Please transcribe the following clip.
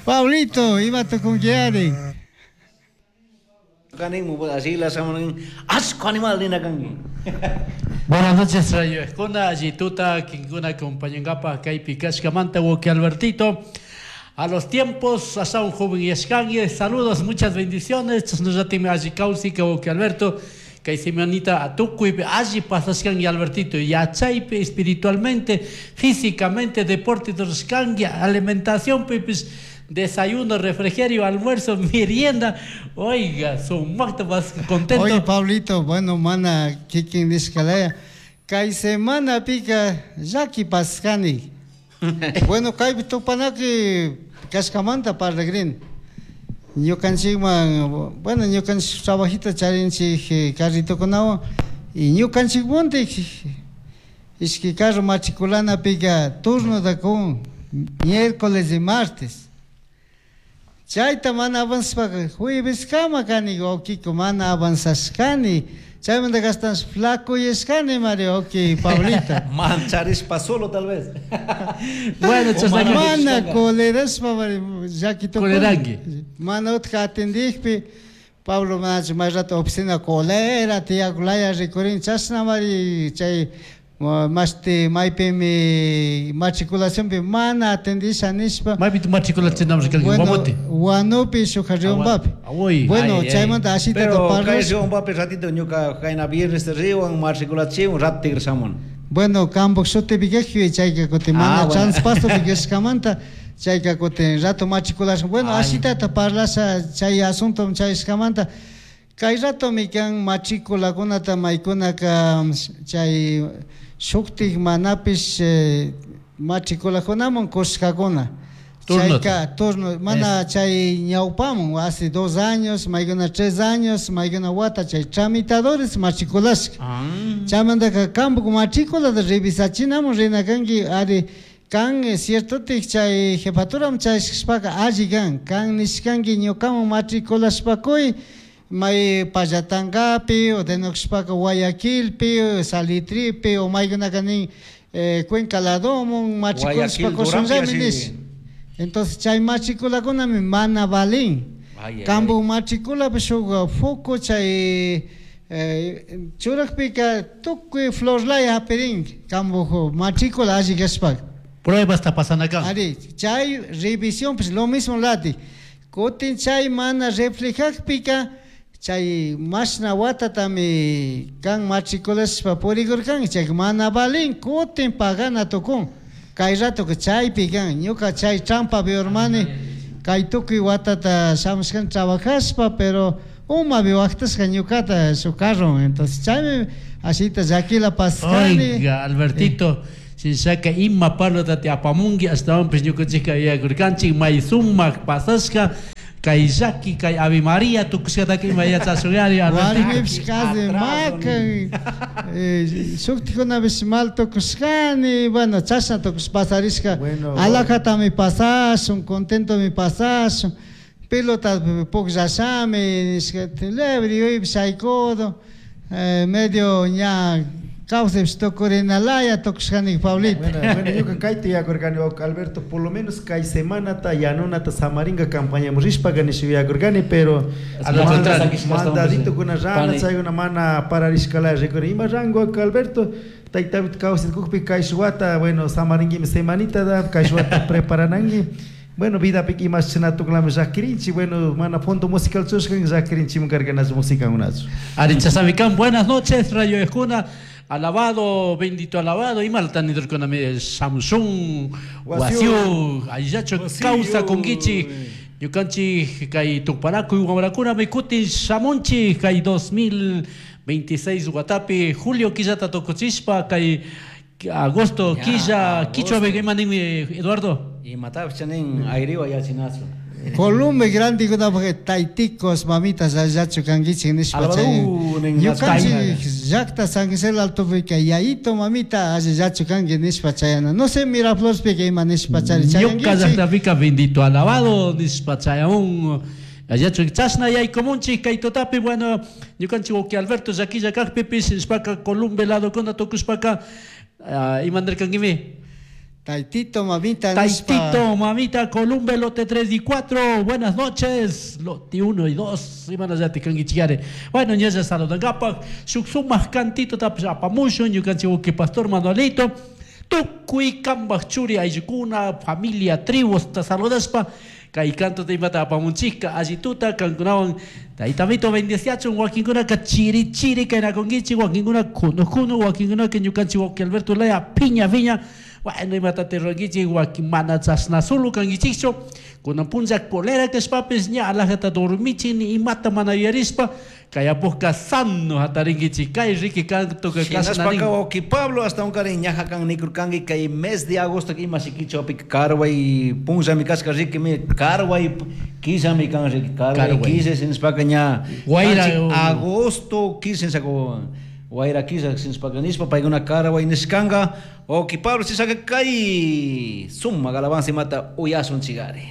Pablito, imata tukunkiari? Asco animal nina kanki. Buenas noches, Rayo Escona, allí tuta, kinkuna acompañangapa kaypi kashkamanta wawki Albertito. A los tiempos, hasta un joven yashkangi, saludos, muchas bendiciones. Chashnallatimi alli kawsika wawki Alberto. Kay semanita tukuypi alli pasashkangi Albertito, yachaypi, espiritualmente, físicamente, deporte rurashkangi, alimentacionpipish, desayuno, refrigerio, almuerzo, merienda. Oiga, sumaqta vas contento. Oye, Pablito, bueno, mana kikin nishkalaya. Kay semanapika llaki pasashkani. Bueno, kaypi tupanaki kashkamanta parlagrini. Ñukanchikman, bueno, ñukanchik trabajita charinchik carritokunawan y ñukanchikmuntik ishki carro matriculanapika turnota kun miércoles y martes. Chayta mana avanzashpaka jueveskama kani wawkiko mana avanzashkani. Chaymanta ashtawanshi flacuyashkani mari wawki Pablito. Mancharishpa solo tal vez. Bueno, chashnaka Mana colerashpa mari llaki tukuni. Coleranki. Mana utka atendikpi Pablo manachu may rato oficina colera tiyakulaya rikurin chashna mari chay mashti maypimi matriculacionpi mana atendisha nishpa. Maypi matriculachinamun kanki Bueno, Guamote. Huanupi shuk Riobambapi. Awoy. Bueno, Ay, ay. chaymanta ashitata Pero kay parlash. Riobambapi ratito ñuka kayna viernes riwan matriculachiwan rato tigreshamun. Bueno, kampak shutipi kajpi chayka kutin Ah, mana bueno. transpasopi kashkamanta chayka kutin rato matriculashun. Bueno, Ay. ashitata parlasha chay asunto chayashkamanta. Kay ratomi kan matriculakunata maykunaka chay shuktik manapish matriculakunaman kushkakuna. Turnota. Chayka turno, mana chay ñawpamun, hace 2 años, maykuna 3 años, maykuna wata chay tramitadores matriculashka. Ah. Chaymantaka kampak matriculata revisachinamun rina kanki, ari kan ciertotik chay jefaturam chayashkashpaka alli kan, kan nishkanki ñukaman matriculashpakuy may Pallatangapi o denushpaka Guayaquilpi, Salitripi o maykunaka nin Cuenca ladomun matriculashpa Guayaquil, kushunllami Duranpi nish. así. Entonces chay matriculakunami mana valin. Ay, ay, Kampu ay. matriculapi shuk foco chay churakpika tukuy florlaya hapirin kampu matricula alli kashpaka. Pruebas ta pasana kan. Ari, chay revisión pues lo mismo lati. Kutin chay mana reflejakpika chay mashna watatami kan matriculashpa purikurkan chay mana valin kutin pagana tukun. Kay rato que chaypi kan ñuka chay trampa urmani kay tukuy watata shamushkan trabajashpa pero umapi waqtashka ñukata su carro entonces chaymi ashita llakila pascani. Oiga, Albertito, shinshaka ima parlota te apamungi ashtawanpish ñukanchikka yuyakurkanchik may sumak pasashka kay llaki kay Ave María tukushkataka ima yachashuyari Albertito. Warmipish casi Atraso, makan, shuktikunapish mal tukushkani, bueno, chashna tukush pasarishka, Bueno, alajatami pasashun, contentomi pasashun, pelota pukllashami, nishka, lebre yuypish shaykudo, medio ña kawsaypish tukurinalaya tukushkani Pablito. Bueno, bueno, ñuka kayta yuyakurkani wawka Alberto, por lo menos kay semanata yanunata samaringa campañamun rishpaka nisha yuyakurkani, pero Al contrario. mandaditokuna rana Pani. chaykuna mana pararishkalaya rikuri. Ima rango wawka Alberto, taytapita kawsaytukukpi kay wata, bueno, samaringuimi semanita da, kay wata preparanangi. Bueno, vidapika imash chinatuklami llakirinchik, bueno, mana fondo musical chushkan llakirinchikmi karkanachu musikakunachu. Ari Chasamikan, buenas noches, Rayo Ejuna. Alabado, bendito alabado, imalta nidurkunami Samsung, Wasiu. Wasiu, Ayacho, causa conguichi, ñukanchik kay tupanakuy wamrakunami kutin shamunchik kay 2026 watapi julio killata tukuchishpa kay agosto Ya, killa agosto. kichwa imaninmi Eduardo. Imatapish chanin ayriwa yachinachu. Columbia grande kunapak taytikos mamitas allachu kankichik nishpa Alvaro, chay nin ñukanchik llakta San Gisela Altopika yayito mamita allachu kanki nishpa chayana. No sé Miraflorespika ima nishpa chari Ñuka chayankichik. llaqtapika bendito alabado nishpa chayamun. Allachu chashna yaykumunchik kay tutapi, bueno, ñukanchik wawqi Alberto llakilla kaqpipish nishpaka Columbia ladokuna tukushpaka, imanirkankimi. Taitito, mamita, nishpa. Taitito, mamita, Columbe, lote 3 y 4, buenas noches, lote 1 y 2, imanallati kankichikari. Bueno, ñalla saludankapak, shuk sumak cantito tapish apamushun, ñukanchik wawki pastor Manuelito, tukuy kambaj churi ayllukuna, familia, tribusta saludashpa, kay cantota imata apamunchikka, allituta kankunawan, taytamito bendeciachun, wakinkunaka chiri chiri kaynakunkichik, wakinkuna kunu kunu, wakinkunaka ñukanchik wawki Alberto Laya piña piña, bueno, imata rurankichik, wakin mana chashna solo kankichikchu, kunan punlla colera kashpapis ña alajata dormichik, ni imata mana yuyarishpa, kay apujka sano hatarinkichik, kay riki cantoka kashna nin. Shinashpaka wawki Pablo hasta unkarin ñaja kan nikurkanki kay mes de agosto ima shikichawpi karway punllami kashka rikimi karway killami kan riki karway Karway. killa shinashpaka ña Wayra- kanchik agosto killa shinashaka wayra killa shinashpaka nishpa paykuna karway nishkanka wawki Pablo chishaka kay sumak alabanza imata uyasun chigari.